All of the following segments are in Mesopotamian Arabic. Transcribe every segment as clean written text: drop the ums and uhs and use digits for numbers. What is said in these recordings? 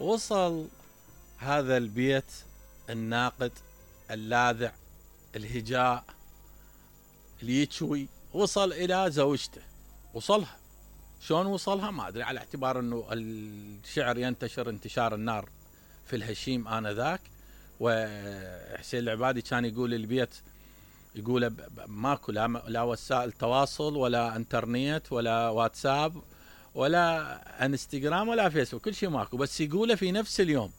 وصل هذا البيت الناقد اللاذع الهجاء اللي يتشوي، وصل الى زوجته، وصلها. شلون وصلها ما ادري، على اعتبار انه الشعر ينتشر انتشار النار في الهشيم انذاك. وحسين العبادي كان يقول البيت، يقول ماكو لا وسائل تواصل ولا انترنت ولا واتساب ولا انستغرام ولا فيسبوك، كل شيء ماكو، بس يقوله في نفس اليوم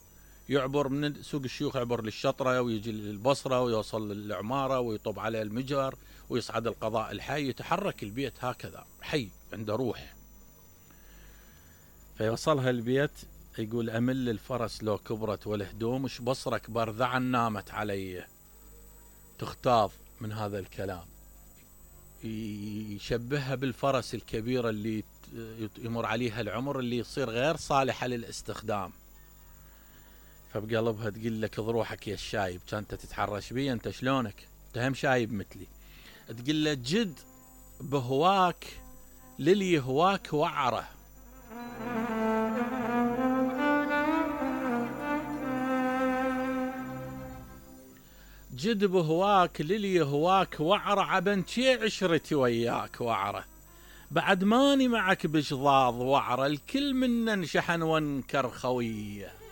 يعبر من سوق الشيوخ، يعبر للشطرة ويجي للبصرة ويوصل للعمارة ويطب على المجر ويصعد القضاء الحي، يتحرك البيت هكذا حي عنده روح. فيوصلها البيت يقول أمل الفرس لو كبرت والهدوم، اش بصرك برذعا نامت علي، تختاض من هذا الكلام. يشبهها بالفرس الكبيرة اللي يمر عليها العمر، اللي يصير غير صالحة للاستخدام. فبقلبها تقول لك ضروحك يا الشايب، كانت تتحرش بي انت شلونك؟ انت هم شايب مثلي. تقول له جد بهواك للي يهواك وعره. جد بهواك للي يهواك وعره، عبنتي عشرتي وياك وعره، بعد ماني معك بشظاظ وعره، الكل منا شحن وانكر خويه.